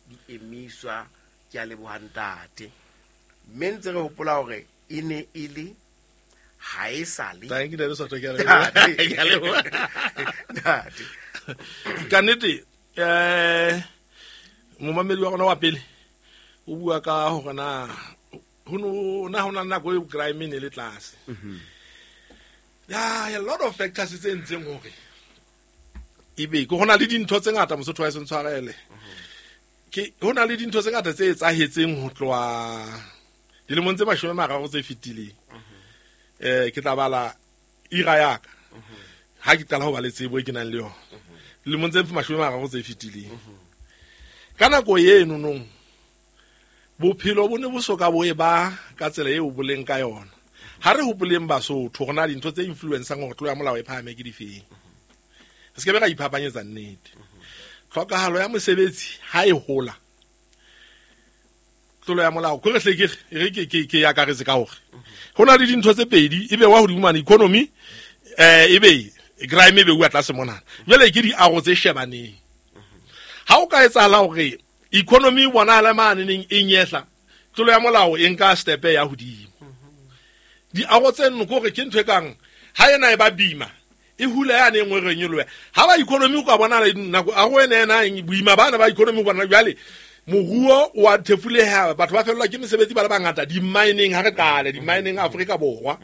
di emiswa. Ke a leboha ntate. Mme ntse re hopola hore e ne e le ha e sa le. Thank you, Ntate Sotho, ke a leboha. Ke a leboha. Ntate. Ka nnete, momamedi wa rona wa pele o bua ka hore na ho no na ho na le nako eo crime e ne le tlase. Ya, a lot of factors tse entseng hore ebe ke hona le dintho tse ngata Mosotho wa ntshwarele. Ke hona le dintho tse ngata tse etsahetseng ho tloha dilemong tse 30 tse fetileng. Ke tla bala ira ya ka. Ha ke qala ho ba le tsebo e ke nang le yona. Dilemong tse 30 tse fetileng. Ka nako eno nong bophelo bo ne bo soka bo e ba ka tsela eo bo leng ka yona. Ha re hopoleng Basotho hore na dintho tse influencang hore tlolo ya molao e phahame ke difeng. Re se ke be ra iphapanyetsa nnete. Tlhokahalo ya mosebetsi ha e hola, tlolo ya molao ko re hle ke re ke ke ke akaretse ka hore ho na le dintho tse pedi, e be wa hodimo mane economy, e be crime e be uwa tlase mona. Jwale ke diaro tse shebaneng. Ha o ka etsahala hore economy e bonahala mane neng e nyehla, tlolo ya molao e nka step ya hodimo. Diaro tse nno ke hore ke ntho e kang ha ena e ba bima, e hula ya ne nngwe re nyoloha. Ha ba economy o ka bona le nako a go ena ena eng, boima bana ba economy bona jwale moruo wa thefuleha, batho ba fellwa ke mesebetsi ba le bangata di-mining. Ha re qale di-mining Afrika Borwa,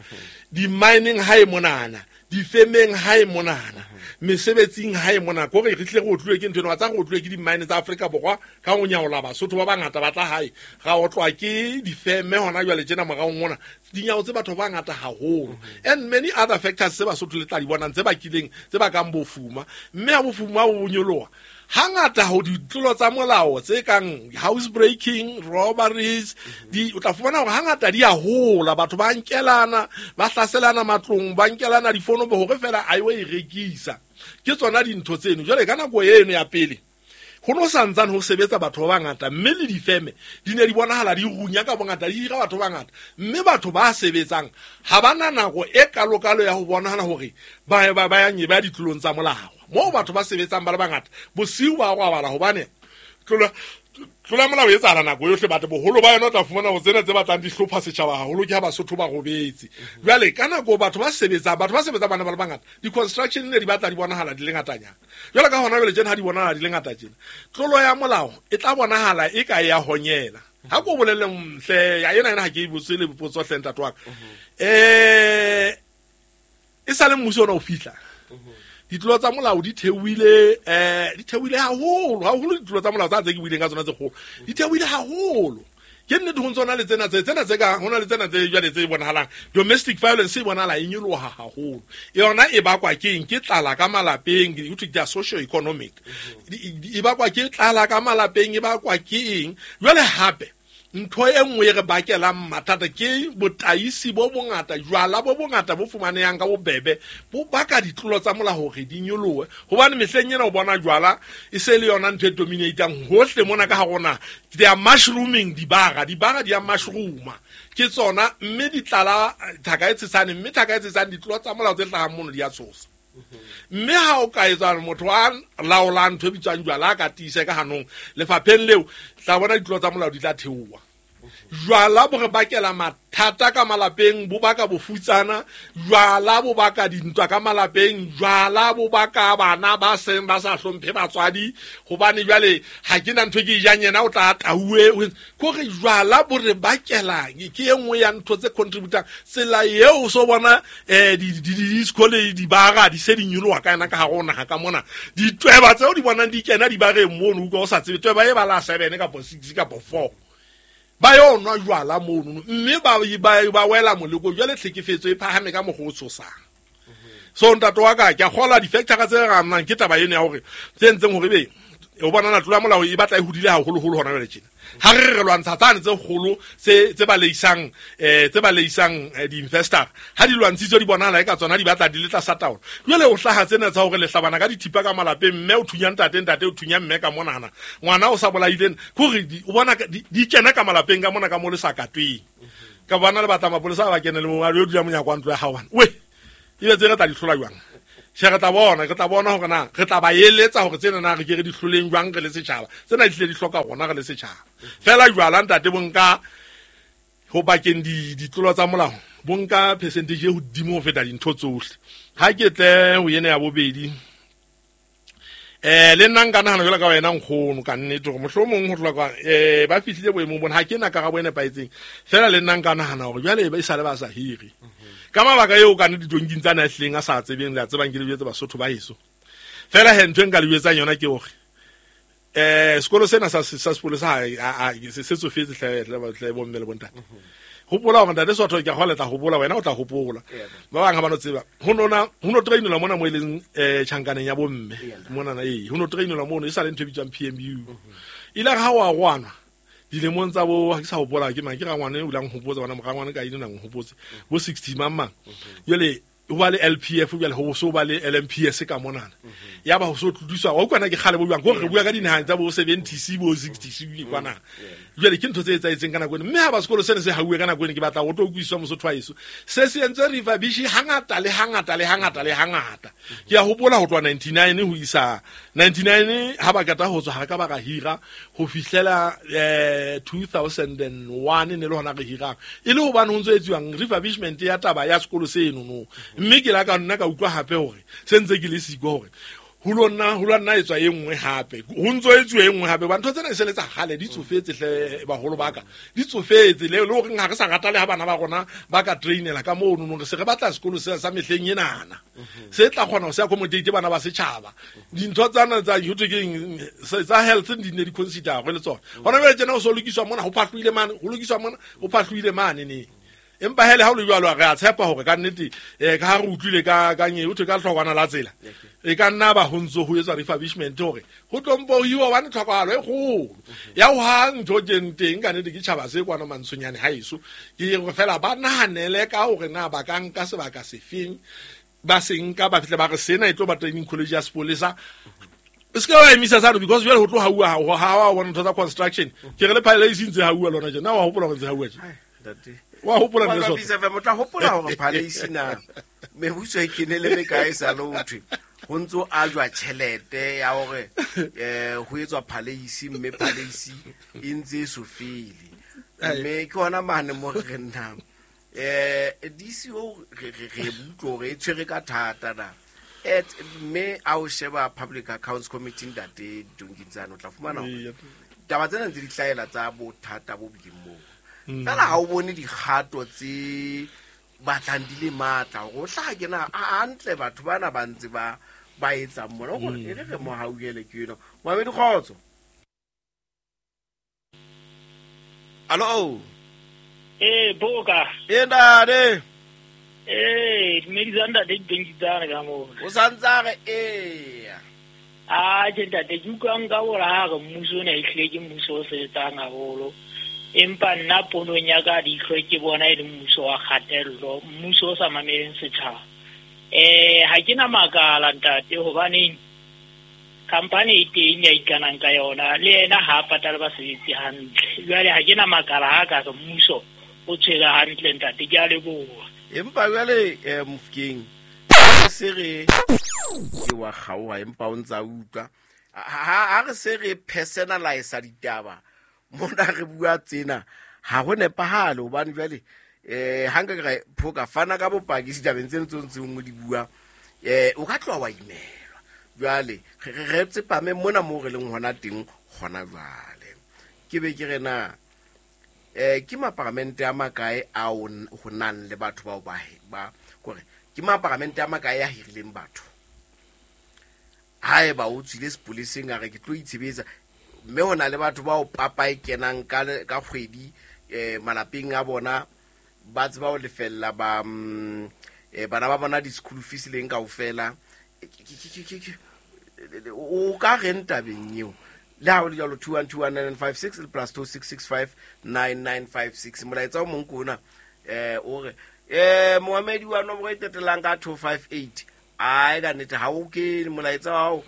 di-mining ha e monana, difemeng ha e monana, mesebetsing ha e monana. Kore re tle re otluwe ke ntho ena, wa tsa re otluwe ke di-mine tsa Afrika Borwa ka ho nyaola Basotho ba bangata ba tla hae, ra otlwa ke difeme hona jwale tjena moraong mona, dinyawo tse batho ba bangata haholo. And many other factors tse Basotho le tla di bonang tse bakileng, tse bakang bofuma. Mme ha bofuma bo nyoloha, hangata ho ditlolo tsa molao tse kang house breaking, robberies, di o tla fumana hore hangata di a hola, batho ba nkelana, ba hlaselana matlong, ba nkelana difono hore fela a yo e rekisa. Ke tsona dintho tseno. Jwale ka nako eno ya pele ho no santsane ho sebetsa batho ba bangata, mme le difeme di ne di bonahala di runya ka bongata, di hira batho ba bangata, mme batho ba sebetsang ha ba na nako e kalokalo ya ho bonahala hore ba ba ba ya ba ditlolong tsa molao. Moo batho ba sebetsang ba le bangata bosiu ba robala, hobane tlola molao e etsahala nako yohle, batho boholo ba yona o tla fumana ho tsena tse batlang di hlopha setjhaba haholo ke ha Basotho ba robetse. Jwale ka nako batho ba sebetsang, batho ba sebetsang ba ne ba le bangata, di-construction ne di batla di bonahala di le ngatanyana. Jwale ka hona jwale tjena ha di bonahala di le ngata tjena, tlolo ya molao e tla bonahala e ka ya honyela. Ha ko bolelle hle, ya ena ena ha ke e botse le potso hle ntate wa ka. E sa le mmuso ona o fihla, ditlolo tsa molao di theohile, di theohile haholo, haholo ditlolo tsa molao tsa tse ke buileng ka tsona tse kgolo, di theohile haholo. Ke nnete ho ntse hona le tsena tse, tsena tse ka, hona le tsena tse jwale tse bonahalang. Domestic violence e bonahala e nyoloha haholo. Yona e bakwa ke eng? Ke tlala ka malapeng, ho thwe ke ya socio economic. E bakwa ke tlala ka malapeng, e bakwa ke eng? Jwale hape ntho e nngwe e re bakelang mathata ke botaisi bo bongata, jwala bo bongata bo fumanehang ka bobebe, bo baka ditlolo tsa molao hore di nyolohe. Hobane mehleng ena o bona jwala e se le yona ntho e dominatang hohle mona ka ha rona. They are mushrooming dibara, dibara di a mushrooma. Ke tsona, mme di tlala thaka e tshesane, mme thaka e tshesane ditlolo tsa molao tse hlahang mono di a tshosa. Mme ha o ka etsa motho a laolang ntho e bitswang jwala a ka tiisa ka hanong lefapheng leo, tla bona ditlolo tsa molao di tla theoha. Jwala bo re bakela mathata ka malapeng, bo baka bofutsana, jwala bo baka dintwa ka malapeng, jwala bo baka bana ba seng ba sa hlomphe batswadi, hobane jwale ha ke na ntho e ke e jang yena o tla tauwe. Kore jwala bo re bakela, ke e nngwe ya ntho tse contributang. Tsela eo o so bona, di-disco le dibara di se di nyoloha ka yona ka hare ho naha ka mona. Ditweba tseo di bonang di kena dibareng mono, utlwa o sa tsebe tweba e ba la 7 kapa 6 kapa 4. Ba yo nwa jwala mono, mme ba wela moleko. Jwale tlhekefetso e phahame ka mokgwa o tshosang. So ntate wa ka, ke a kgolwa di-factor tse re amang ke taba eno ya hore tse entseng hore ebe o bona na tlolo ya molao e batla e hodile haholoholo hona jwale tjena. Ha re re lwantsha tsane tse kgolo tse baleisang, tse baleisang, di-investor, ha di lwantshitswe di bonahala eka tsona di batla di le tlasa taolo. Jwale o hlaha tsena tsa hore le hlabana ka dithipa ka malapeng, mme o thunya ntate, ntate o thunya mme ka monana, ngwana o sa bolaileng, ke hore o bona ka, di kena ka malapeng ka mona ka mo le sa katweng. Ka bona le batla mapolesa a ba kene le mo, a yo dula monyako wa ntlo ya hao bana. We, ebe tse re tla di hlola jwang? Tjhe, re tla bona, re tla bona hore na re tla ba eletsa hore tsena na re ke re di hloleng jwang re le setjhaba. Tsena di hlile di hloka rona re le setjhaba. Feela jwala ntate bo nka ho bakeng ditlolo tsa molao, bo nka percentage e hodimo ho feta dintho tsohle. Ha ke tle ho ena ya bobedi, le nna nka nahana jwalo ka wena nkgono ka nnete hore mohlomong ho tloha kwa ba fihlile boemong bona, ha ke na karabo e nepahetseng. Feela le nna nka nahana hore jwale e sale ba sa hire. Ka mabaka eo ka nnete ditonking tsa na hlileng a sa tsebeng, le a tsebang ke le jwetse Basotho ba heso. Feela he ntho e nka le jwetsang yona ke hore sekolo sena sa sepolesa se tsofetse hle bomme le bontate. Hopola hore ntate Sotho ke a kgolwa le tla hopola, wena o tla hopola. Ba bang ha ba no tseba. Ho no trainelwa mona mo e leng tjhankaneng ya bomme. Monana ho no trainelwa mono e sa le ntho e bitswang PMU. Ile ha wa rwana dilemong tsa bo ha ke sa hopola ke mang ke rangwane o ilang hopotsa bana morangwane ka ine nang hopotse bo 60 mang mang. Jwale ho ba le LPF jwale ho so ba le LMPS ka monana. Ya ba ho so tlodiswa wa utlwana ke kgale bo jwang hore re bua ka dinaha tsa bo 70 bo 60 kwana. Jwale ke ntho tse etsahetseng ka nako eno, mme ha ba sekolo sena se hauwe ka nako eno, ke batla ho tlo utlwisiswa Mosotho wa heso. Se se entse refurbish hangata le hangata le hangata le hangata. Ke a hopola ho tloha 99 ho isa 99 ha ba qeta ho tswa ha re ka ba ra hira ho fihlela 2001 ne le hona re hirang. E le hobane ho ntso etsuwang refurbishment ya taba ya sekolo seno no. Mme ke la ka nna ka utlwa hape hore se ntse ke le siko hore ho lo nna etswa e nngwe hape. Ho ntso etsuwa e nngwe hape. Ba ntho tsena e se le tsa kgale, di tsofetse hle baholo ba ka. Di tsofetse le hore ha re sa rata le ha bana ba rona ba ka trainela ka mono no, re se re batla sekolo se sa mehleng enana. Se tla kgona ho se accommodate bana ba setjhaba. Dintho tsana tsa ho thwe keng tsa health di ne di consider le tsona. Hona jwale tjena ho so lokiswa mona, ho phahlohile mane, ho lokiswa mona, ho phahlohile mane ne. Empa hele ha o le jwalo re a tshepa hore ka nnete ka ha re utlwile ka nye ho thwe ka hlokwana la tsela. E ka nna ba ho ntso ho etswa refurbishment hore ho tlompo hiwa hobane tlhokahalo e kgolo. Ya ho ha ntho teng teng ka nnete ke tjhaba se kwana Mantshonyane ha eso. Ke re fela ba nahanele ka hore na ba ka nka sebaka sefeng, ba se nka ba fihle ba re sena e tlo ba training college ya sepolesa. E se ke wa emisa sano because jwale ho tlo hauwa ha wa bona ntho tsa construction. Ke re le phaele e sentse hauwa lona tjena. Na wa hopola hore ntse hauwa tje? Wa hopola nne Sotho? Motla hopola hore phaleisi na mebuso e kenele mekae sa le ho thwe ho ntso ajwa tjhelete ya hore ho etswa phaleisi, mme phaleisi e ntse e so fele. Mme ke hona mane mo re nnang. DCO re utlwa hore e tshwere ka thata na. Mme a o sheba Public Accounts Committee ntate Donking tsane o tla fumana hore taba tsena ntse di hlahela tsa bothata bo bileng moo. Fela ha o bone dikgato tse batlang di le matla hore o hlaha ke na hantle batho bana ba ntse ba etsang mona hore e re re mo hauhele ke eno. Moamedi kgotso. Allo. Boka. Ntate. Dumedisa ntate Ditonki tsane ka moo. O santsa re eya. A tjhe ntate, ke utlwa nka hore ha re mmuso ona ehlile ke mmuso o sebetsang haholo. Empa nna ponong ya ka leihlo ke bona e le mmuso wa kgatello, mmuso o sa mameleng setjhaba. Ha ke na makala ntate hobaneng company e teng ya ikanang ka yona le yena ha a patale basebetsi hantle. Jwale ha ke na makala ha ka re mmuso o tshwere hantle ntate, ke a leboha. Empa jwale Mofokeng se re ke wa kgaoha empa o ntsa utlwa ha re se re personalize ditaba mona re bua tsena ha ho nepahale hobane jwale ha nka ke re phoka fana ka bopaki ditabeng tseno tse ntseng o di bua o ka tloha wa imelwa. Jwale re tsepame mona moo re leng hona teng hona jwale. Ke be ke re na ke maparamente a makae ao ho nang le batho bao ba kore ke maparamente a makae a hirileng batho. Haeba o tswile sepoleseng a re ke tlo itshebetsa, mme ho na le batho bao papa e kenang ka kgwedi malapeng a bona ba tseba ho lefella ba bana ba bona di-school fees leng kaofela. O ka reng tabeng eo? Le ha ho le jwalo 2121956 le plus 26659956. Molaetsa o mong ke ona o re moamedi wa nomoro e qetellang ka 258. Ai ka nnete ha o kene molaetsa wa hao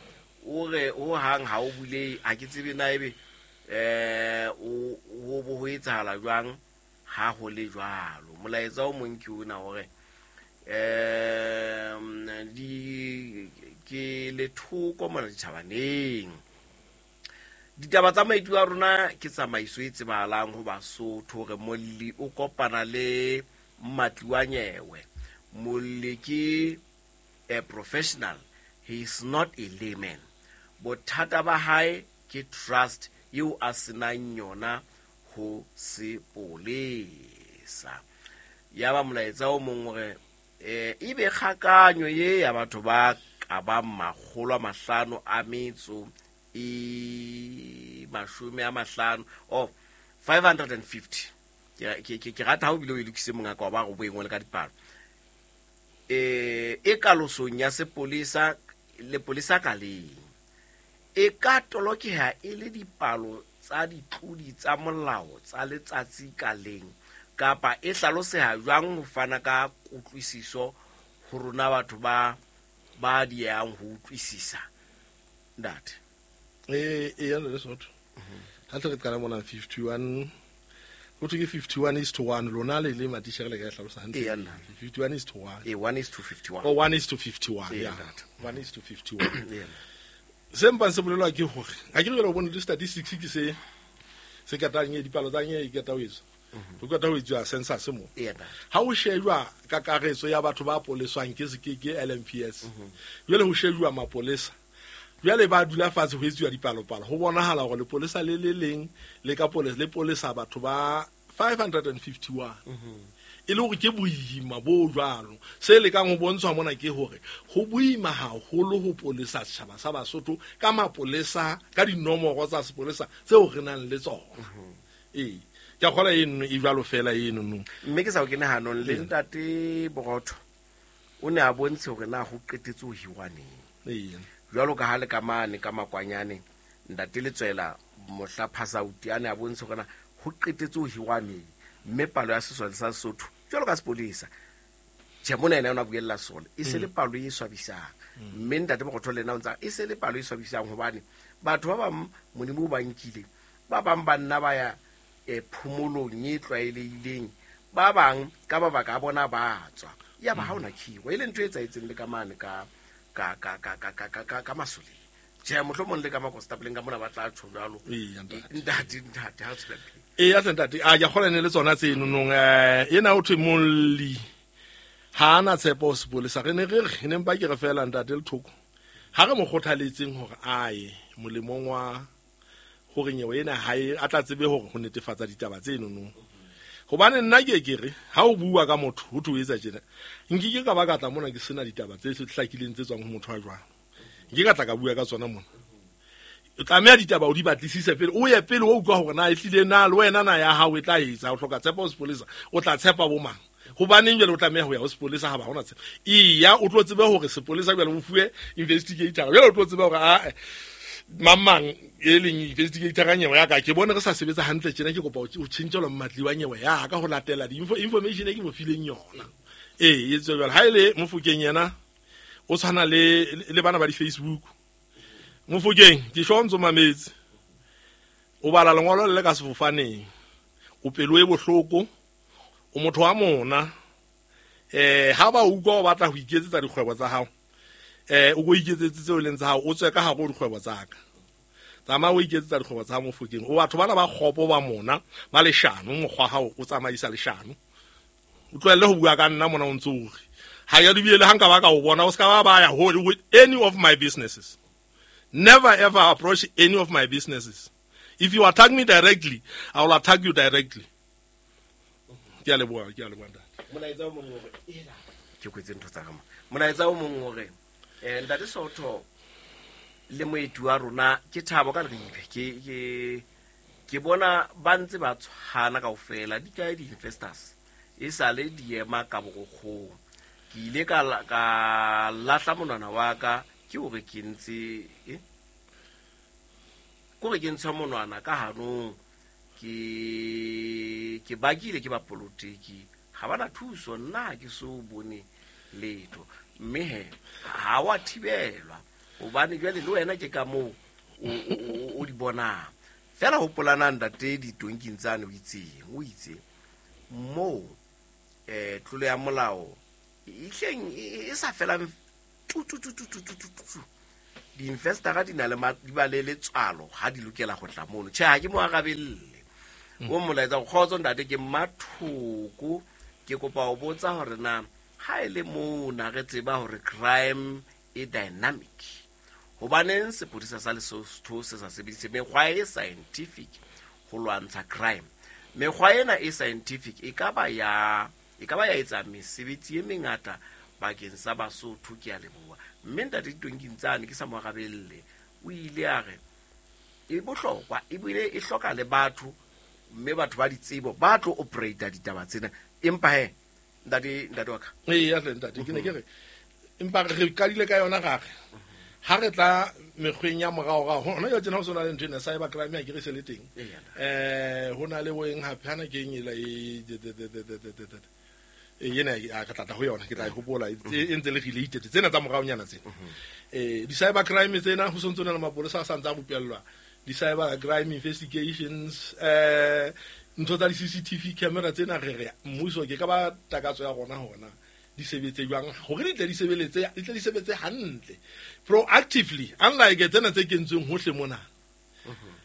o re ho hang ha o bulehe, ha ke tsebe na ebe o bo ho etsahala jwang ha ho le jwalo. Molaetsa o mong ke ona hore Di ke lethoko mona ditjhabaneng. Ditaba tsa maitlo a rona ke tsamaiso e tsebahalang ho Basotho hore molli o kopana le mmatli wa nyewe. Molli ke a professional, he is not a layman. Bothata ba hae ke trust eo a senang yona ho sepolesa. Ya ba molaetsa o mong hore ebe kgakanyo ye ya batho ba ka bang 550 or 550. Ke rata ha o bile o e lokise mongaka wa ba go boengwe le ka dipalo. E kalosong ya sepolesa le polesa ka leng e ka tolokeha e le dipalo tsa ditlodi tsa molao tsa letsatsi ka leng kapa e hlaloseha jwang ho fana ka kutlwisiso ho rona batho ba diehang ho utlwisisa ntate? E ya le Sotho ha tle re qala mona 51 ho thwe ke 51 is to 1. Lona le matishere le ka e hlalosa hantle. Eya, nna. 51 is to 1. E 1 is to 51. Oh, 1 is to 51. Eya, Yeah. ntate. 1 is to 51. Eya. Se mpang se bolelwa ke hore ha ke re jwale o bone le statistics ke se katang e dipalo tsa nye e keta ho etswa ho keta ho etswa census mo. Eya, ntate. Ha o shejwa kakaretso ya batho ba poleswang ke se ke LMPS, jwale ho shejwa mapolesa, jwale ba dula fatshe ho etsuwa dipalopalo, ho bonahala hore lepolesa le le leng le ka polesa le polesa batho ba 551, e le hore ke boima bo jwalo. Se lekang ho bontshwa mona ke hore ho boima haholo ho polesa setjhaba sa Basotho ka mapolesa, ka dinomoro tsa sepolesa tseo re nang le tsona. Ee, ke a kgola eno e jwalo fela eno no. Mme ke sa o kene hanong le ntate Borotho, o ne a bontshe hore na ho qetetse ho hirwa neng. Jwalo ka ha le ka mane ka makwanyane ntate Letswela mohla phasauti a ne a bontshe hore na ho qetetse ho hirwa neng, mme palo ya sesole sa Sesotho jwalo ka sepolesa, tjhe, mona ena o ne a buella sole e se le palo e swabisang. Mme ntate Borotho le ena o ntsa e se le palo e swabisang hobane batho ba bang Modimo o ba nkile, ba bang ba nna ba ya phomolong e tlwaelehileng, ba bang ka mabaka a bona ba tswa, ya ba ha ona khiro e le ntho e etsahetseng le ka mane ka masoleng. Tjhe, mohlomong le ka makonstabeleng ka mona ba tla tjho jwalo. Eya, ntate. Ntate, ha o tswela pele. Eya hle ntate, a ke a kgola ne le tsona tseno nong. Ena ho thwe molli ha ana tshepo ho sepolesa. Re ne re re ne mpa ke re fela ntate Lethoko ha re mo kgothaletseng hore a ye molemong wa hore nyewe ena ha e a tla tsebe hore ho netefatsa ditaba tseno nong, hobane nna ke re ha o bua ka motho ho thwe o etsa tjena, nkike ka ba ka tla mona ke sena ditaba tse hlakileng tse tswang ho motho wa jwang, nke ka tla ka bua ka tsona mona. O tlameha ditaba o di batlisise pele, o ye pele o utlwa hore na ehlile na le wena na ya hao e tla etsa. O hloka tshepo ho sepolesa, o tla tshepa bo mang? Hobaneng jwale o tlameha ho ya ho sepolesa ha ba hona tshepo? Eya, o tlo tsebe hore sepolesa jwale o fuwe investigator, jwale o tlo tsebe hore a mang mang e leng investigator nyewe ya ka, ke bone re sa sebetsa hantle tjena, ke kopa ho tjhentjhelwa mmatli wa nyewe ya ka ho latela di-information e ke mo fileng yona. Ee, e tswe jwale. Ha e le Mofokeng yena o tshwana le bana ba di-Facebook. Mofokeng ke sho ntso mametse, o bala lengolo le le ka sefofaneng, o pelo e bohloko, o motho wa mona. Ha ba utlwa o batla ho iketsetsa dikgwebo tsa hao, o ko iketsetse tseo e leng tsa hao, o tswe ka hare ho dikgwebo tsa ka, tsamaya o iketsetsa dikgwebo tsa hao. Mofokeng, o batho bana ba kgopo ba mona ba leshano, mokgwa hao o tsamaisa leshano, o tlohelle ho bua ka nna mona o ntso o re ha ya lebile. Le ha nka ba ka o bona, o ska ba ba ya ho with any of my businesses. Never ever approach any of my businesses. If you attack me directly, I will attack you directly. Ke a leboha, ke a leboha ntate. Molaetsa o mong hore ela ke kwetse ntho tsa ka mo. Molaetsa o mong hore ntate Sotho le moeti wa rona ke Thabo ka Leribe, ke bona ba ntse ba tshwana kaofela. Di kae di-investors e sale di ema ka borokgong? Ke ile ka lahla monwana wa ka ke hore ke ntse kore ke ntsha monwana ka hanong, ke bakile ke bapolotiki ha bana thuso, nna ha ke so bone letho. Mme he ha wa thibelwa hobane jwale le wena ke ka moo o di bonang fela. Hopolanang ntate ditonking tsane o itseng o itse moo tlolo ya molao. Ihleng e sa felang tu tu tu tu tu tu tu. Di-investora di na le di ba le letswalo ha di lokela go tla mono. Tjhe, ha ke mo arabelle. O molaetsa kgotso ntate ke Mmathoko, ke kopa ho botsa hore na ha e le mona re tseba hore crime e dynamic, hobaneng sepodisa sa Lesotho se sa sebedise mekgwa e scientific ho lwantsha crime? Mekgwa ena e scientific e ka ba ya etsa mesebetsi e mengata bakeng sa Basotho. Ke a leboha. Mme ntate Ditonking tsane ke sa mo arabelle, o ile a re e bohlokwa ebile e hloka le batho, mme batho ba ditsebo ba tlo operate ditaba tsena. Empa he ntate wa ka, ee tle ntate, ke ne ke re empa re qadile ka yona gare ha re tla mekgweng ya moraorao hona jwale tjena ho sona le ntho ena cyber crime ya ke re se le teng. Ho na le boeng hape hana ke eng ela e ena a ka tlatla ho yona, ke tla e hopola e ntse le related tsena tsa moraonyana tsena. Di-cyber crime tsena ho sontso na le mapolesa a sa ntse a rupellwa di-cyber crime investigations, ntho tsa di-CCTV camera tsena re re mmuso ke ka ba takatso ya rona hona di sebetse jwang hore di tle di sebeletse, di tle di sebetse hantle proactively, unlike tsena tse kentsweng hohle mona.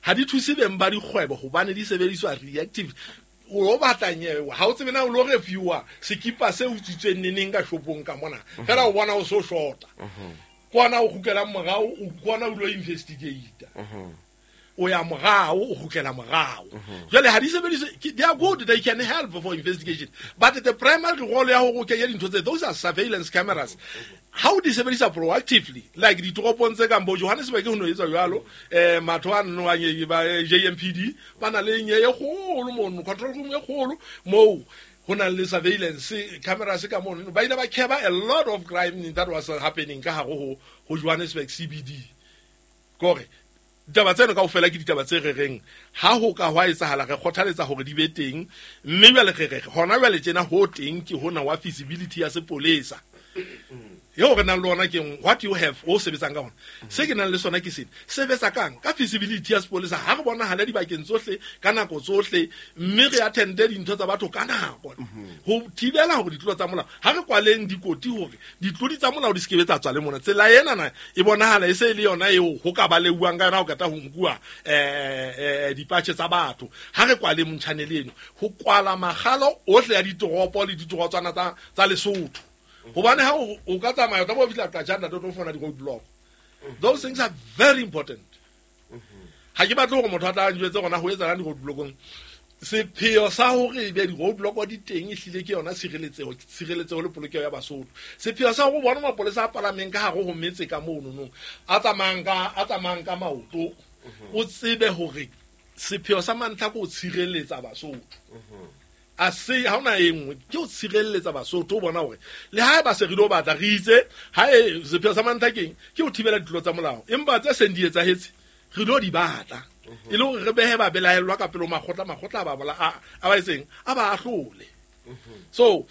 Ha di thuse beng ba dikgwebo hobane di sebediswa reactive. O batla nyewe ha o tsebe na o lo reviewa sekipa se utswitsweng neneng ka shopong ka mona, fela o bona o so shota kwana o kgutlela morao, o kwana o lo investigate, o ya morao, o kgutlela morao. Jwale ha di sebediswe, they are good, they can help for investigation, but the primary role ya hore o kenye dintho tse, those are surveillance cameras. Ha o di sebedisa proactively like ditoropong tse kang bo Johannesburg ho no etsa jwalo, matho a nno a ba JMPD ba na le nye e kgolo mono, control room e kgolo moo ho na le surveillance cameras ka mono. Ba ile ba cover a lot of crime that was happening ka hare ho Johannesburg CBD. Kore ditaba tseno kaofela ke ditaba tse re reng ha ho ka hwa etsahala re kgothaletsa hore di be teng, mme jwale re re hona jwale tjena ho teng ke hona wa feasibility ya sepolesa eo re nang le ona ke what you have o sebetsang ka hona. Se ke nang le sona ke sena sebetsa kang ka feasibility ya sepolesa ha re bonahala dibakeng tsohle ka nako tsohle, mme re attende dintho tsa batho ka nako ho thibela hore ditlolo tsa molao. Ha re kwaleng dikoti hore ditlodi tsa molao di se ke tsa tswa le mona. Tsela ena na e bonahala e se e le yona eo ho ka baleuwang ka yona ho kata ho nkuwa dipatjhe tsa batho. Ha re kwaleng motjhanele eno ho kwala makgalo ohle ya ditoropo le ditorotswana tsa Lesotho, hobane ha o ka tsamaya o tla bo fihla Qajana o tlo fumana di-roadblock. Those things are very important. Ha ke batle hore motho a tla njwetse gona ho etsahalang di-roadblockong. Sepheo sa hore ebe di-roadblock di teng ehlile ke yona tshireletseho le polokeho ya Basotho. Sepheo sa hore bona mapolesa a palameng ka hare ho metse ka mono nong a tsamayang ka maoto, o tsebe hore sepheo sa mantlha ke ho tshireletsa Basotho. A se ha ona e nngwe ke o tshireletsa Basotho, o bona hore le ha ba se re lo batla re itse ha e sepheo sa mantlha keng ke ho thibela ditlolo tsa molao, empa tse seng di etsahetse re lo di batla e le hore re behe ba belaellwa ka pele ho makgotla a ba bola a ba etseng a ba ahlole. So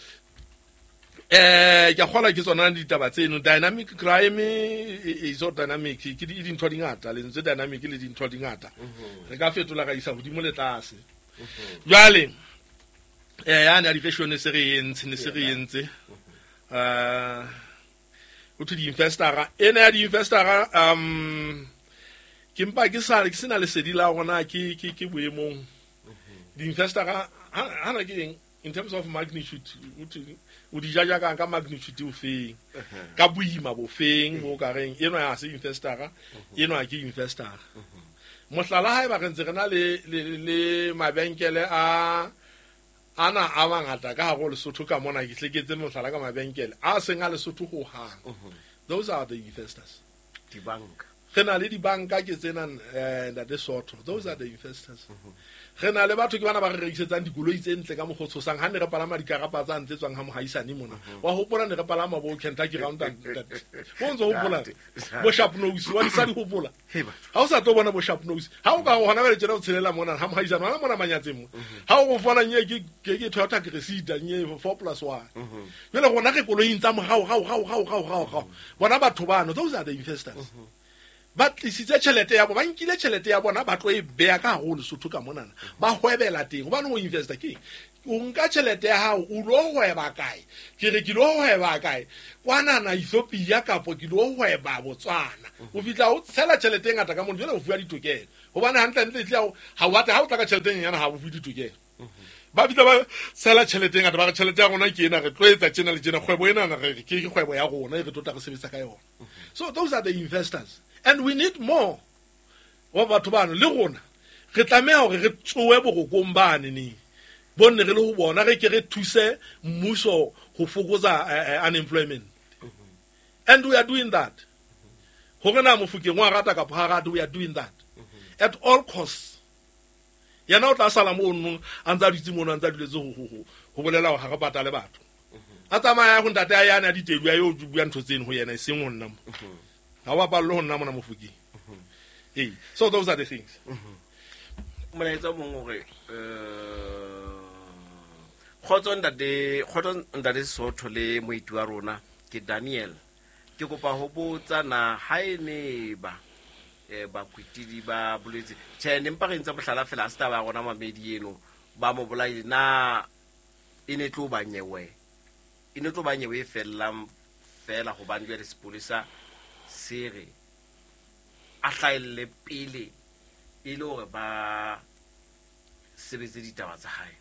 ke a kgolwa ke tsona ditaba tseno. Dynamic crime e so dynamic ke dintho di ngata, lentswe dynamic le dintho di ngata re ka fetola ka isa hodimo le tlase. Jwale ya ne di fashion se re entse ne se re entse o thwe di-investora ena ya di-investora ke mpa ke sa ke sena lesedi la rona ke boemong di-investora hana ke eng in terms of magnitude o di jaja ka magnitude o feng ka boima bo feng bo ka reng eno ya se investora eno ke investora. Mohlala haeba re ntse re na le mabenkele a ana a mangata ka hare ho Lesotho ka mona, ke hleketse mohlala ka mabenkele a seng a Lesotho ho hang. Those are the investors. Dibanka re na le dibanka ke tsena ntate Sotho, those are the investors. Re na le batho ke bana ba re rekisetsang dikoloi tse ntle ka mokgwa o tshosang ha ne re palama dikarapa tsa ntle tswang ha mohaisane mona. Wa hopola ne re palama bo Kentucky Round and bo ntso hopola bo sharp nose wa di sa di hopola. Ha o sa tlo bona bo sharp nose ha o ka hona ba le tjena o tshelela mona ha mohaisane hona mona manyatseng mo. Ha o fona nye ke Toyota Cressida nye 4+1. Jwale rona re koloing tsa morao rao rao rao rao rao. Bona batho bano, those are the investors. Ba tlisitse tjhelete ya bona, ba nkile tjhelete ya bona, ba tlo e beha ka hare ho Lesotho ka monana, ba hwebela teng. Hobane ho investa ke o nka tjhelete ya hao, o lo hweba kae? Ke re ke lo hweba kae? Kwanana Ethiopia kapo ke lo hweba Botswana. O fihla o tshela tjhelete e ngata ka mono, jwale o fuwa ditokelo. Hobane hantle-hantle ehlile ha o batla, ha o tla ka tjhelete e nyenyane ha o fuwe ditokelo. Ba fihla ba tshela tjhelete e ngata, ba re tjhelete ya rona ke ena, re tlo etsa tjena le tjena, kgwebo ena re ke kgwebo ya rona e re tlo tla re sebetsa ka yona. So those are the investors, and we need more wa batho bano. Le rona re tlameha hore re tsoe borokong bane neng bonne re le ho bona, re ke re thuse mmuso ho fokotsa unemployment, and we are doing that. Hore na Mofokeng wa rata kapa ha rate, we are doing that at all costs. Yena o tla sala mono a ntse a dutse mono, a ntse a duletse ho bolela hore ha re patale batho. A tsamaya ho ntate a yane a ditedu a yo bua ntho tseno ho yena, e seng ho nna mo. Ha o bapalle ho nna mona Mofokeng. Ee, so those are the things. Molaetsa o mong hore kgotso ntate, kgotso ntate Sotho le moeti wa rona ke Daniel. Ke kopa ho botsa na ha e ne ba bakwetidi ba boletse tjhe, ne mpa re ntse mohlala fela, ha se taba ya rona mamedi eno ba mo bolaile, na e ne tlo ba nyewe, e ne tlo ba nyewe e fellang fela, hobane jwale sepolesa se re a hlahelle pele e le hore ba sebetse ditaba tsa hae.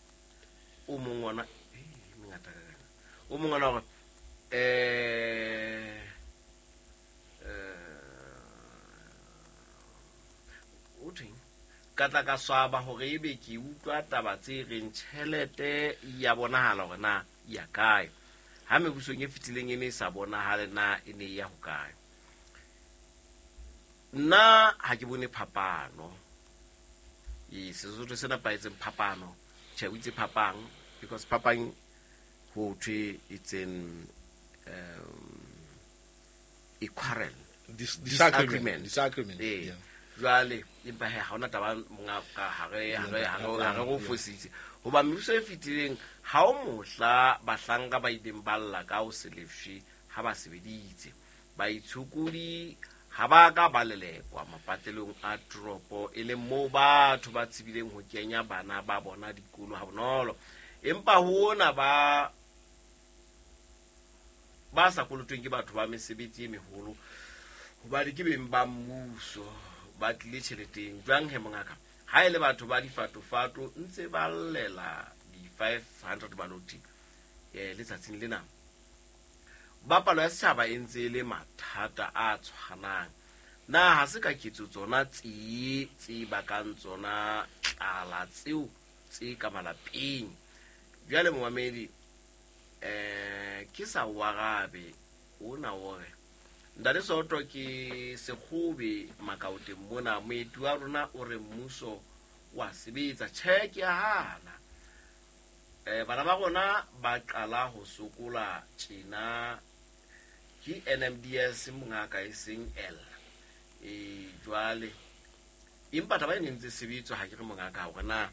O mong ona mengata ka kana, o mong ona hore o thweng ka tla ka swaba hore ebe ke utlwa taba tse reng tjhelete ya bonahala hore na ya kae, ha mebusong e fetileng e ne e sa bonahale na e ne e ya hokae. Nna ha ke bone phapano. E Sesotho se nepahetseng phapano, tjhe o itse phapang, because phapang ho thwe it's an a quarrel, disagreement. Disagreement. Jwale empa he ha hona taba monga ka hare hare go fositse hoba mebuso e fetileng ha o mohla bahlanka ba ileng ba lla ka ho se lefshwe ha ba sebeditse. Baitshokodi ha ba ka ba lelekwa mapatlelong a toropo, e leng moo batho ba tsebileng ho kenya bana ba bona dikolo ha bonolo. Empa hona ba sa kolotweng ke batho ba mesebetsi e meholo, hobane ke beng ba mmuso ba tlile tjheleteng. Jwang he mongaka, ha e le batho ba difatofato ntse ba llela di-500 baloti letsatsing lena, ba palo ya setjhaba e ntse e le mathata a tshwanang. Na ha se ka ketso tsona tse bakang tsona tlala tseo tse ka malapeng? Jwale momamedi, ke sa warabe ona o re ntate Soto ke sekgobe makaoteng mona, moeti wa rona o re mmuso wa sebetsa. Tjhe, ke a hana. Bana ba rona ba qala ho sokola tjena ke NMDS mongaka e seng L. Jwale empa taba e ne ntse sebetswa, ha ke re mongaka hore na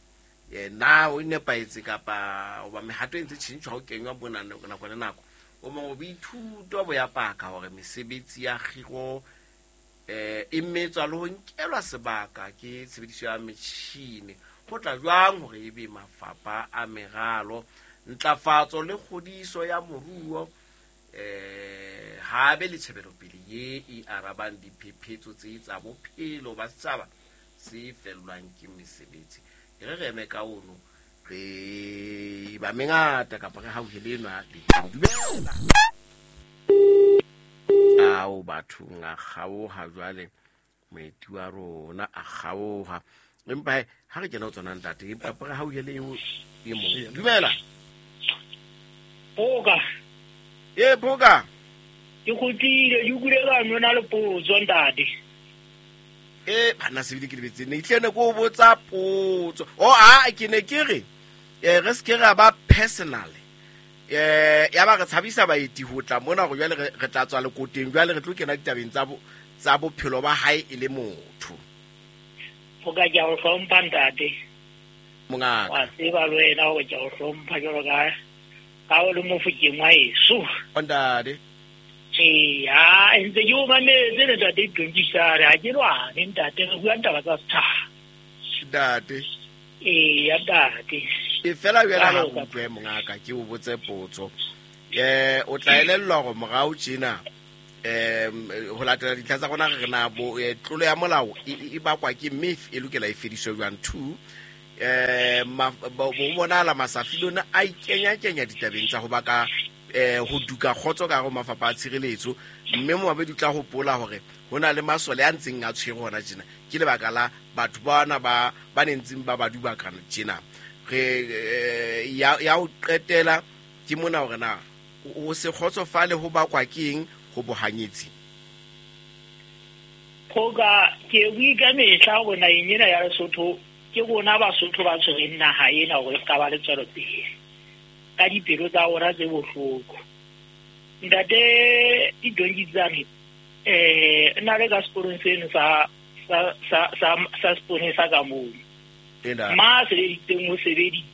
na o nepahetse kapa hoba mehato e ntse tjhentjhwa ho kenywa mona nako le nako. O mongwe boithuto bo ya paka hore mesebetsi ya kgiro e metswa le ho nkelwa sebaka ke tshebediso ya metjhini. Ho tla jwang hore ebe mafapha a meralo, ntlafatso le kgodiso ya moruo ha be le tjhebelopele ye e arabang diphephetso tse tsa bophelo ba setjhaba se fellwang ke mesebetsi. Re re eme ka ono re ba mengata kapa re hauhele enwa dumela. Ao bathong a kgaoha jwale, moeti wa rona a kgaoha. Empa ha re kena ho tsona ntate, empa re hauhele e mong. Dumela. Boka. E boka. Ke kgutlile, ke utlwile ka nona le potso ntate. Bana sebile ke lebetse ne itlene ko botsa potso. O a ke ne ke re re se ke ra ba personal. Ya ba re tshabisa baeti ho tla mona hore jwale re tla tswa lekoteng, jwale re tlo kena ditabeng tsa bophelo ba hae e le motho. Boka ke a o hlompha ntate. Mongaka. Wa tseba le wena hore ke a o hlompha jwalo ka o le Mofokeng wa heso. Ntate. Eya, ntse ke o mametse le ntate Donkisare, ha ke lwane ntate, re bua taba tsa setjhaba. Ntate. Eya ntate. E fela wena le utlwe mongaka ke o botse potso. O tla elellwa hore morao tjena ho latela dintlha tsa rona re na bo tlolo ya molao e bakwa ke mme e lokela e fediswe jwang. 2 bo bonahala Masafilone a ikenya-kenya ditabeng tsa ho baka ho duka kgotso ka hare ho mafapha a tshireletso, mme momamedi o tla hopola hore ho na le masole a ntseng a tshwere hona tjena ke lebaka la batho bana ba nentseng ba ba dubakana tjena. Re ya ho qetela ke mona hore na o se kgotsofale ho bakwa ke eng ho bohanyetsi. Phoka ke bue ka mehla hore naheng ena ya Lesotho ke rona Basotho ba tshwereng naha ena hore e ska ba le tswelopele ka dipelo tsa rona tse bohloko. Ntate Didongitsane nna le ka sekolong seno sa seponesa ka moo. Ma sebeditseng o sebeditse.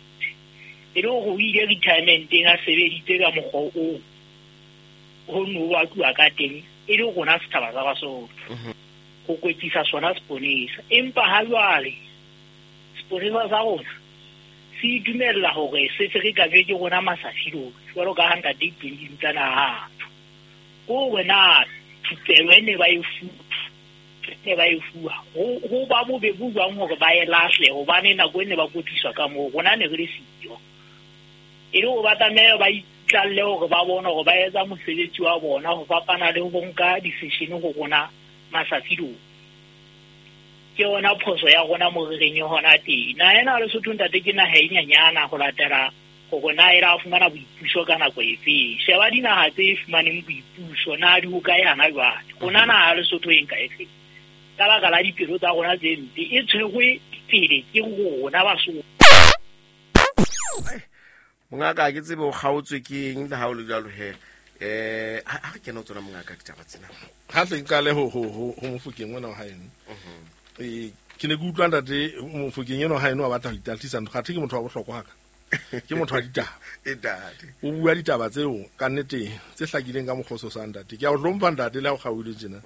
E le hore o ile retirementeng a sebeditse ka mokgwa oo ho no wa tluwa ka teng e le rona setjhaba sa Basotho. Ho kwetlisa sona seponesa. Empa ha jwale seponesa sa rona se itumella hore se ferekanywe ke rona Masafilone jwalo ka ha ntate Didongitsane a tjho. Ko wena thupelo e ne ba e fuwa ho ba bobe bo jwang hore ba e lahle hobane nako e ne ba kwetliswa ka moo rona ne re le siyo. E le hore ba tlameha ba itlalle hore ba bone hore ba etsa mosebetsi wa bona ho fapana le ho nka decision ho rona Masafilone. Ke yona phoso ya rona mo re reng hona teng. Naha ena ya Lesotho ntate ke naha e nyenyana ho latela hore na e la fumana boipuso ka nako efe. Sheba dinaha tse fumaneng boipuso na di hokae hana jwale. Rona naha ya Lesotho e nka efe. Ka baka la dipelo tsa rona tse mpe e tshwerwe pele ke rona Basotho. Mongaka ke tsebe o kgaotswe ke eng le ha o le jwalo he. Ha re kena ho tsona mongaka ditaba tsena. Ha tle nqale ho Mofokeng ona wa haeno. Ke ne ke utlwa ntate Mofokeng eno haeno a batla ho itahlisa ntho, kgathe ke motho wa bohlokwa haka. Ke motho wa ditaba. O bua ditaba tseo ka nnete tse hlakileng ka mokgwa o sa ntate. Ke a o hlompha ntate le ha o kgaohile tjena.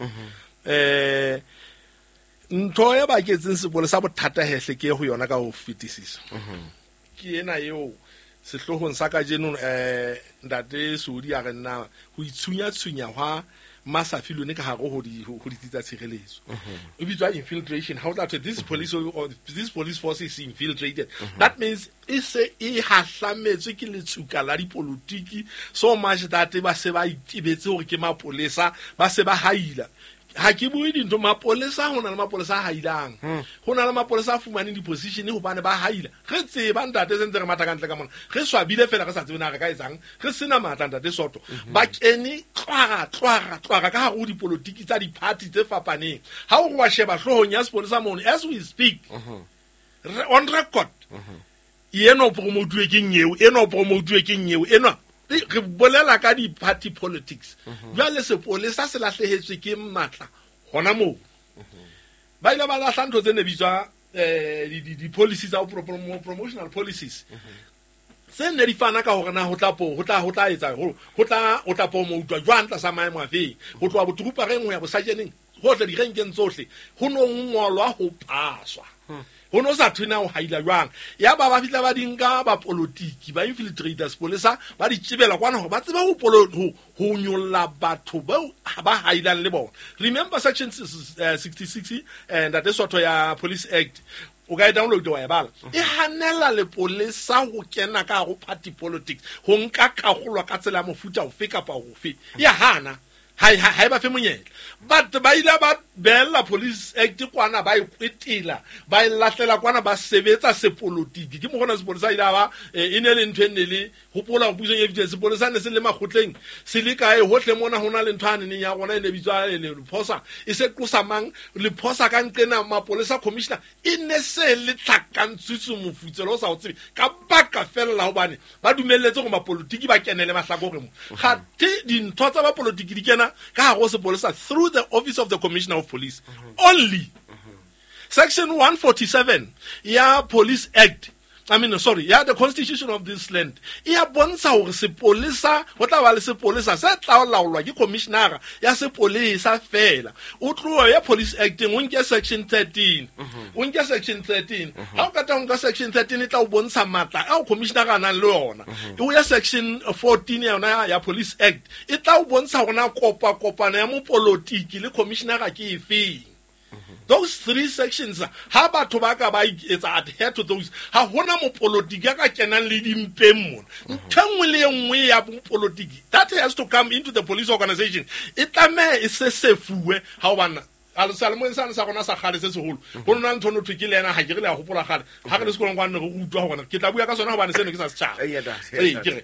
Ntho e baketseng sepolesa bothata hehle ke ho yona ka ho fetisisa. Ke ena eo sehloohong sa kajeno ntate Sodi a re nna ho itshunya-tshunya hwa Masafilone ka hare ho ditsi tsa tshireletso. E bitswa infiltration. How that this police or this police force is infiltrated. That means e se e hahlametswe ke letsuka la dipolotiki so much that ba se ba itebetse hore ke mapolesa, ba se ba haila. Ha ke bue dintho mapolesa, ho na le mapolesa a hailang. Ho na le mapolesa a fumaneng di-position hobane ba haila. Re tseba ntate se ntse re matha ka ntle ka mona. Re swabile fela re sa tsebe na re ka etsang. Re sena matla ntate Soto. Ba kene tlwara ka hare ho dipolotiki tsa di-party tse fapaneng. Ha o re wa sheba hloohong ya sepolesa mono as we speak. On record. Eno promotuwe ke nyeo, eno promotuwe ke nyeo, eno re bolela ka di-party politics. Jwale sepolesa se lahlehetswe ke matla hona moo. Ba ile ba lahla ntho tse ne bitswa di-policies tsa promotional policies. Tse ne di fana ka hore na ho tla promoutwa jwang tlasa maemo afe. Ho tloha botropareng ho ya bosajeneng, hohle direnkeng tsohle ho no ngolwa ho paswa. Ho no sa thwe na ho haila jwang. Ya ba ba fihla ba di nka ba politiki ba infiltrators sepolesa ba di tjebela kwana hore ba tsebe ho nyolla batho bao ba hailang le bona. Remember section 66 ntate Soto ya Police Act. O ka e download wa e bala. E hanela lepolesa ho kena ka ho party politics, ho nka karolo ka tsela ya mofuta ofe kapa ofe. Ya hana. Ha e ba fe monyetla. But ba ile ba beella Police Act kwana ba e kwetela, ba e lahlela kwana ba sebetsa sepolotiki. Ke mokgona sepolesa ile ba e ne le ntho e ne le hopola pusong e fetileng sepolesa ne se le makgotleng se le kae hohle mona ho na le ntho a neneng ya rona e ne bitswa lephosa e se qosa mang lephosa ka nqena mapolesa commissioner e ne se le tlhakantswitse mofutselo o sa o tsebe ka baka fela hobane ba dumelletse hore mapolotiki ba kenele mahlakore mo. Kgathe dintho tsa bapolotiki di kena ka hare ho sepolesa through the office of the commissioner of police only. Section 147 ya Police Act I mean, sorry, ya the constitution of this land e ya bontsha hore sepolesa ho tla ba le sepolesa se tla laolwa ke commissioner ya sepolesa fela. O tloha ya Police Act, o nke section 13, o nke section 13. Ha o kata ho nka section 13, e tla o bontsha matla ao commissioner a nang le yona. O ya section 14 ya yona ya Police Act, e tla o bontsha hore na kopa kopano ya mopolotiki le commissioner ke efeng. Those three sections, ha batho ba ka ba etsa adhere to those, ha hona mopolotiki ya ka kenang le dimpeng mona. Ntho e nngwe le e nngwe ya mopolotiki that has to come into the police organization e tlameha e se sefuwe. Ha o bana a le salemoeng sane sa rona sa kgale se seholo, ho nona ntho no thwe ke le ena, ha ke re le a hopola kgale ha re le sekolong kwane re utlwa hore ke tla bua ka sona hobane seno ke sa setjhaba. Eya, Ee, ke re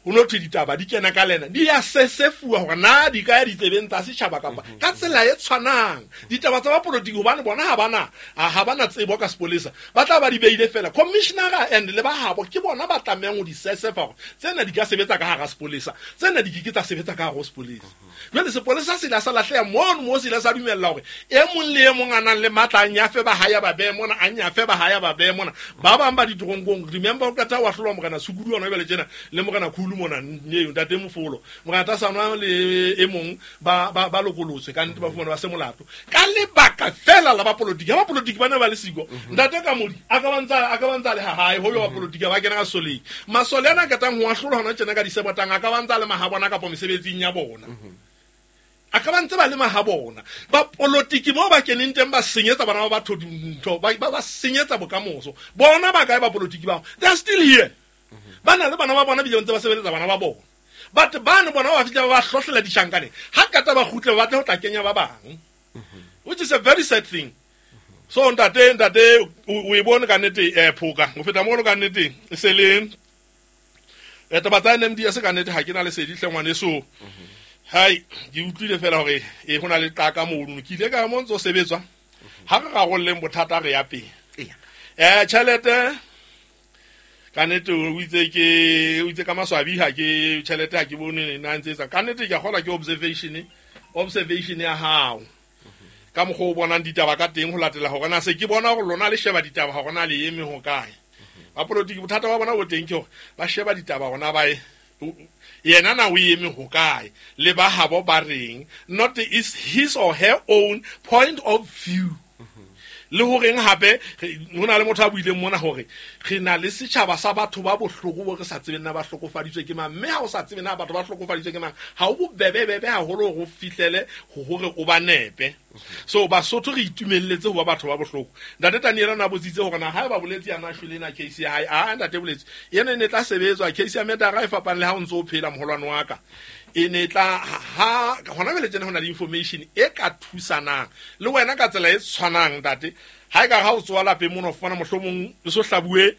ho no thwe ditaba di kena ka lena, di ya sesefuwa hore na di ka ya ditsebeng tsa setjhaba kapa ka tsela e tshwanang ditaba tsa bapolotiki, hobane bona ha bana tsebo ka sepolesa, ba tla ba di beile fela. Commissioner and le ba habo ke bona ba tlamehang ho di sesefa hore tsena di ka sebetsa ka hara sepolesa, tsena di ke ke tsa sebetsa ka hare ho sepolesa. Jwale sepolesa se ile sa lahleha mono mo, se ile sa dumella hore e mong le e mong a nang le matla a nyafe ba hae ba behe mona, a nyafe ba hae ba behe mona. Ba bang ba ditoronkong, remember o qeta wa hlolwa Morena Sukudu ona jwale tjena le Morena Khulu mona neo ntate Mofolo, Morena Tasana le e mong ba lokolotswe ka nnete, ba fumana ba se molato ka lebaka fela la bapolotiki. Ha bapolotiki ba ne ba le siko, ntate Kamodi a ka ba ntsa le ha hae ho yo bapolotiki ba kena ka soleng. Masole ana a qetang ho ahlolwa hona tjena ka disebotang a ka ba ntsa le mahabona kapa mesebetsing ya bona, a ka ba ntse ba le mahabona. Bapolotiki mo ba keneng teng ba senyetsa bana ba batho dintho, ba senyetsa bokamoso bona. Ba kae bapolotiki bao? They are still here, ba na le bana ba bona, bile ba ntse ba sebeletsa bana ba bona. But bano bona ba fihla ba ba hlohlela ditjhankaneng, ha kata ba kgutle ba batle ho tla kenya ba bang, which is a very sad thing. So ntate o e bone ka nnete, phoka ho feta mono ka nnete e se le taba tsa NMDS. Ka nnete ha ke na lesedi hle, ngwaneso. Hai, ke utlwile fela hore e ho na le qaka mono, ke ile ka mo ntso sebetswa. Ha re rarolleng bothata, re ya pele. Tjhelete ka nnete o itse ke o itse ka maswabi ha ke tjhelete ha ke bone na ntse etsa. Ka nnete ke a kgolwa ke observation ya hao ka mokgwa o bonang ditaba ka teng, ho latela hore na se ke bona hore lona le sheba ditaba hore na le eme ho kae. Bapolotiki bothata ba bona bo teng ke hore ba sheba ditaba hore na ba yena na o eme ho kae le ba habo ba reng, not is his or her own point of view. Le horeng hape ho na le motho a buileng mona hore re na le setjhaba sa batho ba bohloko bo re sa tsebeng na ba hlokofaditswe ke mang, mme ha o sa tsebe na batho ba hlokofaditswe ke mang, ha o bobebebebe haholo hore o fihlele hore o ba nepe. So Basotho re itumelletse ho ba batho ba bohloko. Ntate Taniela na botsitse hore na ha ba boletse yana shwele na case ya hae. A ntate boletse yena e ne tla sebetswa case ya murder e fapang le ha o ntso o phela, moholwane wa ka. E ne tla ha hona jwale tjena ho na le information e ka thusanang le wena ka tsela e tshwanang, ntate. Ha e ka ha o tsoa lapeng mono, o fumana mohlomong le so hlabuwe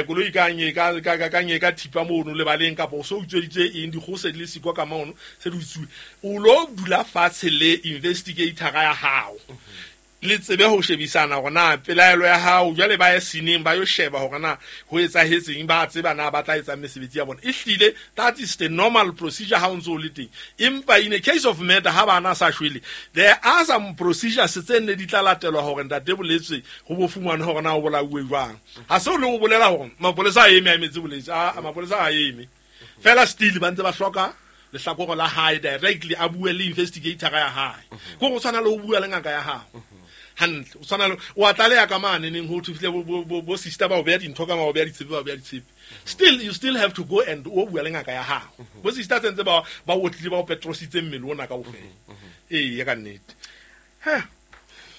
koloi ka nye ka nye ka thipa mono lebaleng, kapa o so utsweditse eng, dikgoho se di le siko ka mono se di utsuwe, o lo dula fatshe le investigator ya hao, le tsebe ho shebisana hore na pelaelo ya hao. Jwale ba ye sineng ba yo sheba hore na ho etsahetseng, ba tseba na ba tla etsang mesebetsi ya bona. Ehlile that is the normal procedure ha o ntso o le teng. Empa in a case of murder, ha bana sa shwele, there are some procedures tse nne di tla latelwa hore ntate boletswe ho bo fumanwe hore na o bolauwe jwang. Ha se o le o bolela hore mapolesa a eme a emetse boletse, a mapolesa a eme fela, still ba ntse ba hloka lehlakore la hae directly, a bue le investigator ya hae. Ko go tshwana le ho bua le ngaka ya hao hantle, o tshwana le o a tlaleha ka mane neng ho thufile bo sister ba o beha dintho ka ma o beha ditshepe, ba o beha ditshepe, still you still have to go and o bua le ngaka ya hao. Bo sister tse ntse ba otlile, ba o petrositse mmele ona kaofela. Ee, ya ka nnete.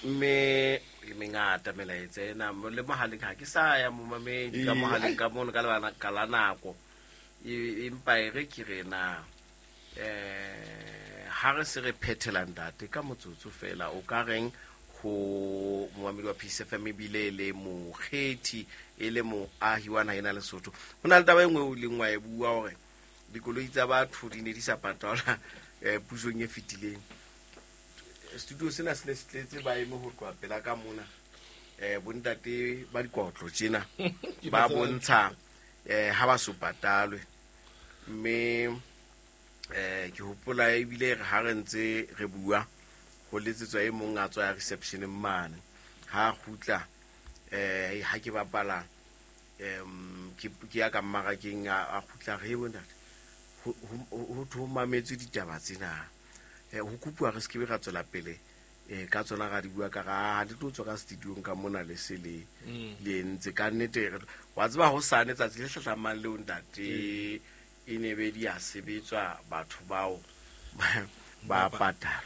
Mme e mengata melaetsa ena le mohaleng, ha ke sa ya momamedi ka Ee, mohaleng ai. ka mono ka lebaka la nako. Empa e re ke re na ha re se re phethela, ntate, ka motsotso fela, o ka reng ho momamedi wa Peace FM, ebile e le mokgethi, e le moahi wa naha ena Lesotho? Ho na le taba e nngwe o ileng wa e bua hore dikoloi tsa batho di ne di sa patalwa pusong e fetileng. Studio sena se ne se tletse, ba eme ho tloha pela ka mona, bontate ba dikotlo tjena ba bontsha ha ba so patalwe. Mme ke hopola ebile re ha re ntse re bua ho letsetswa e mong a tswa ya reception mane, ha kgutla ha ke bapala Ke ya ka mmarakeng a kgutla re bontate ho thwe ho mametswe ditaba tsena. Ho kopuwa re se ke be ra tswela pele ka tsona ra di bua ka ra le tlo tswa ka studiong ka mona le se le le entse ka nnete. Wa tseba ho sane tsatsi le hlahlamang leo ntate e ne be di a sebetswa batho bao ba patala.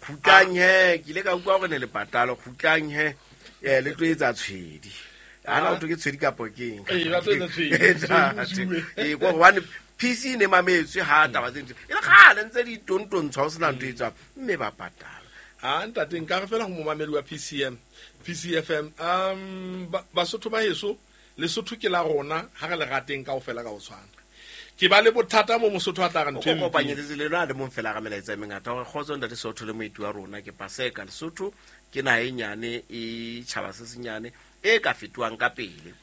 Kgutlang he, ke ile ka utlwa hore ne le patala. Kgutlang he, le tlo etsa tshwedi. Ana o ke tshwedi kapo ke eng? Ee, ba tlo etsa tshwedi. Ee, ko hobane PC e ne mametswe ha taba tse ntse. E le kgale ntse di tontontshwa ho sena ntho e tswang, mme ba patala. A ntate nka re fela ho momamedi wa PCM, PCFM, Basotho ba heso, Lesotho ke la rona, ha re le rateng kaofela ka ho tshwana. Ke ba le bothata mo Mosotho a tla re ntho e mpe. Kopanyetsetse le lona le mong fela ga melaetsa e mengata hore kgotso ntate Sotho le moeti wa rona ke Paseka. Lesotho ke naha e nyane e tjhaba se senyane e ka fetohang ka pele.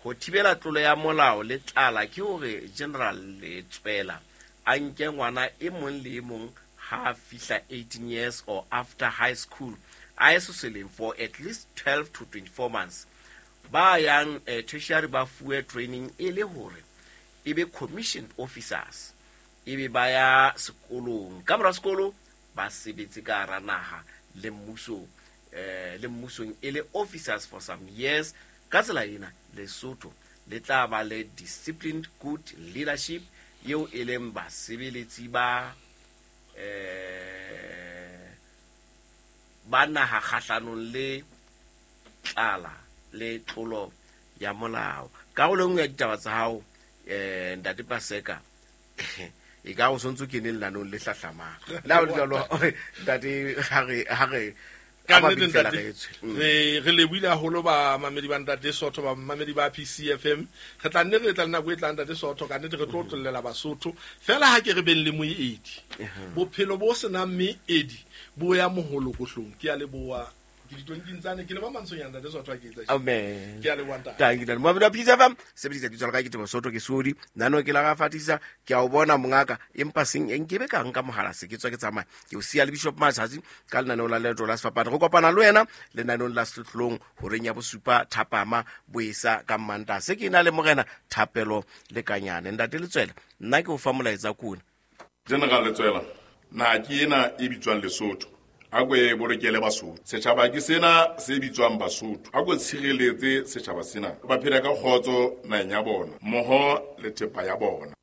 Ho thibela tlolo ya molao le tlala ke hore General Letswela a nke ngwana e mong le e mong ha fihla 18 years or after high school a ye sesoleng for at least 12 to 24 months. Ba yang tertiary ba fuwe training e le hore e be commissioned officers, e be ba ya sekolong. Ka mora sekolo ba sebetse ka hara naha le mmuso, le mmusong e le officers for some years. Ka tsela ena Lesotho le tla ba le disciplined good leadership eo e leng basebeletsi ba ba naha kgahlanong le tlala le tlolo ya molao. Karolo e nngwe ya ditaba tsa hao, ntate Paseka, e ka o sontso kene lenanong le hlahlamang. Le ha ho le jwalo, ntate, ha re Ka nnete, ntate, re lebohile haholo ba mamedi ba ntate Sotho, ba mamedi ba PCFM. Re tla nne re tla le nako e tlang ntate Sotho, ka nnete re tlo tlollela Basotho. Fela ha ke re beng le moedi. Bophelo bo senang meedi bo ya moholokohlong. Ke a leboha. Ke ditonking tsane, ke leba mantshonyana ntate Sotho ha ke etsa. Amen. Ke a leboha ntate. Thank you, ntate. Mamedi wa PCFM, sebedisa lebitso la ka ke Teboho Sotho, ke Sodi. Nano ke la ga fatisa, ke a o bona mongaka, empa seng nkebe ka nka mohala se ke tswa ke tsamaya. Ke o siya le Bishop Matsatsi ka lenaneo la Leeto la Sefapano. Re kopana le wena lenaneong la Sehlohlolong horeng ya bosupa thapama boesa ka Mmantaha. Se ke na le morena Thapelo Lekanyane. Ntate Letswela, nna ke o fa molaetsa kona. General Letswela, naha ke ena e bitswang Lesotho. A ko e bolokele Basotho. Setjhaba ke sena se bitswang Basotho. A ko tshireletse setjhaba sena. Ba phele ka kgotso naheng ya bona, mmoho le thepa ya bona.